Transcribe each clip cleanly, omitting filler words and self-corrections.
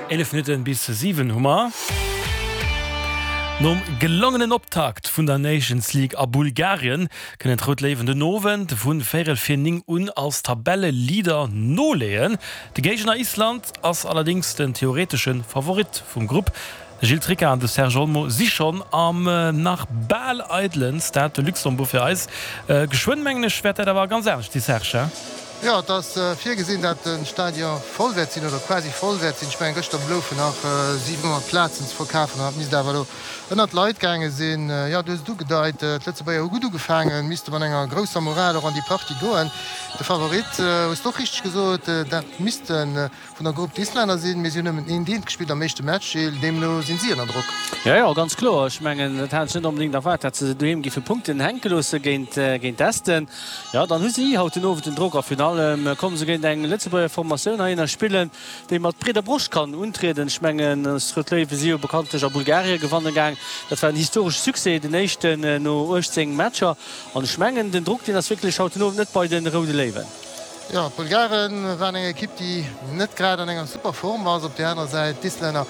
11 Minutten bis 7 hu mer. Nom gelongenen Optakt vun der Nations League a Bulgarien kënnen d'Rout Léiwen den Owend vu véierel vir 9 un als Tabelleleader noleeën. De Géigner Island ass allerdéngs den theoretesche Favorit vum Grupp. De Gilles Tricca an de Serge Olmo si schonn am nach bal eidelen Stade de Luxembourg fir eis. Geschwënn, mengen ech, wäert dat awer ganz anescht si, Serge? Jo, et ass virgesinn, dat de Stadion voll wäert sinn, oder quasi voll wäert sinn. Ech mengen, gëschter bloufen nach 700 Plazen ze verkafen an dat misst awer elo ënnert d'Leit gaange sinn. Jo, du hues et ugedeit, d'Lëtzebuerger hu gutt ugefaangen, misste mat enger grousser Moral och an déi Partie goen. De Favorit, hues de och richteg gesot, dat misste Vun der Grupp d'Islänner sinn, mee si hunn nëmmen een Deelt gespillt am éischte Match, Gilles, deemno sinn si ënner Drock. Jo, jo, ganz kloer. Ech mengen, dat hat ech net onbedéngt erwaart, dat se doheem géife Punkten hänke loosse géint géint Esten. Jo, dann hu si haut den Owend den Drock a virun allem komme se géint eng Lëtzebuerger Formatioun heihinner spillen, déi mat breeder Broscht kann untrieden. Ech mengen, eis Rout Léiwe si jo bekanntlech a Bulgarie gewanne gaang. Dat war en historesche Succès, den éischten no 18 Matcher. An ech mengen, den Drock, deen ass wierklech haut den Owend net bei de Roude Léiwen. Jo, d'Bulgare waren eng Ekipp, déi net grad an enger super Form ass. Op där anerer Säit d'Islänner,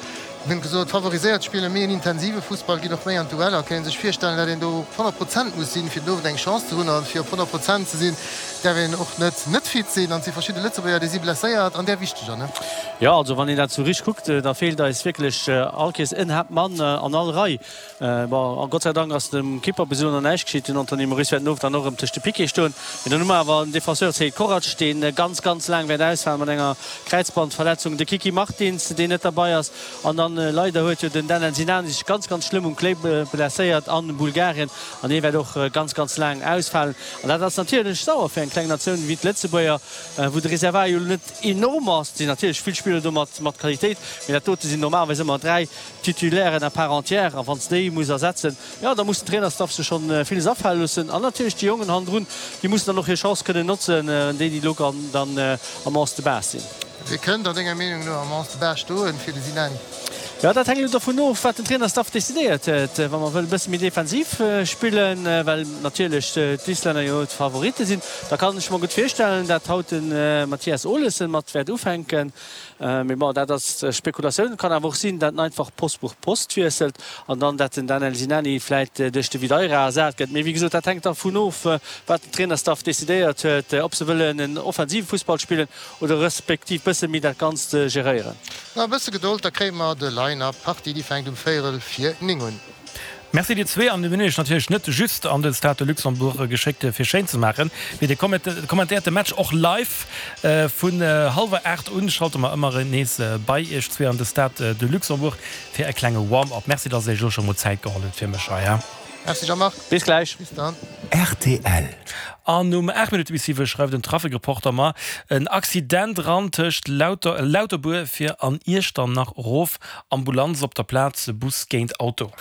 mir hunn gesot, favoriséiert, spille méi en intensive Fussball, ginn och méi an d'Dueller. Kann ee sech virstellen, datt een do op 100 Prozent muss sinn, fir den Owend eng Chance ze hunn. A fir op 100 Prozent ze sinn, däerf een och net net fit sinn. An et si verschidde Lëtzebuerger, déi si blesséiert an där wichteger, ne? Jo, also wann een dat sou richteg kuckt, da feelt eis wierklech all Kees en Haaptmann an all Rei. Bon, a Gott sei Dank ass dem Kipper bis elo nach näischt geschitt. Den Anthony Moris wäert den Owend dann och erëm tëscht de Piquete stoen. Mee dann hu mer awer en Defenseur, Seid Korac, dee ganz, ganz laang wäert ausfalen mat enger Kräizbandverletzung, de Kiki Martins, deen net derbei ass. An dann leider huet jo den Danel Sinani sech ganz, ganz schlëmm um Kléi blesséiert a Bulgarien an hie wäert och ganz, ganz laang ausfalen. An dat ass natierlech sauer fir eng kleng Natioun wéi d'Lëtzebuerger, wou de Reservoir jo elo net enorm ass. Et sinn natierlech vill Spiller do mat Qualitéit, mee dat dote sinn normalerweis ëmmer 3 Titulairen à part entière, a wann s déi muss ersetzen, jo da muss den Trainerstaff sech schonn villes afale loossen. An natierlech déi Jongen hannendrun, déi mussen dann och hir Chance kënnen notzen, déi déi elo dann am Onze de base sinn. Wie kënnt a denger Meenung no am Onze de base stoen fir de Sinani? Jo, dat hänkt elo dovun of, wat den Trainerstaff decidéiert huet. Wa mer wëllen e bësse méi defensiv spillen, well natierlech d'Islänner jo d'Favoritte sinn, da kann ech mer gutt virstellen, dat haut de Mathias Olesen mat wäert ufänken. Mee bon, dat ass Spekulatioun. Et kann awer och sinn, dat en einfach Post pour Post wiesselt an dann dat den Danel Sinani vläit duerch de Videira ersat gëtt. Mee wéi gesot, dat hänkt dervun of, wat den Trainerstaff decidéiert huet, ob se wëllen en offensive Fussball spillen oder respektiv bësse méi dat Ganzt geréieren. Nach e bësse Gedold, da kréie mer de Line-Up. D'Partie, déi fänkt um véierel vir 9 un. Merci dir zwee. An mir hunn iech natierlech net just an de Stade de Luxembourg geschéckt fir schéin ze maachen, mee dir kommentéiert de Match och live. Vun hallwer 8 un schalte mer ëmmer nees bei iech zwee an de Stade de Luxembourg fir e klenge Warm-up. Merci dass der iech elo scho mol Zäit geholl hutt fir mech hei. Merci Jean-Marc. Bis gläich. Bis dann. Rtl. An um 8 Minutte bis 7 schreift den Trafikreporter mer en Accident ran tëscht Lauterbuer fir an Iechternach erof. Ambulanz op der Plaz, Bus géint Auto.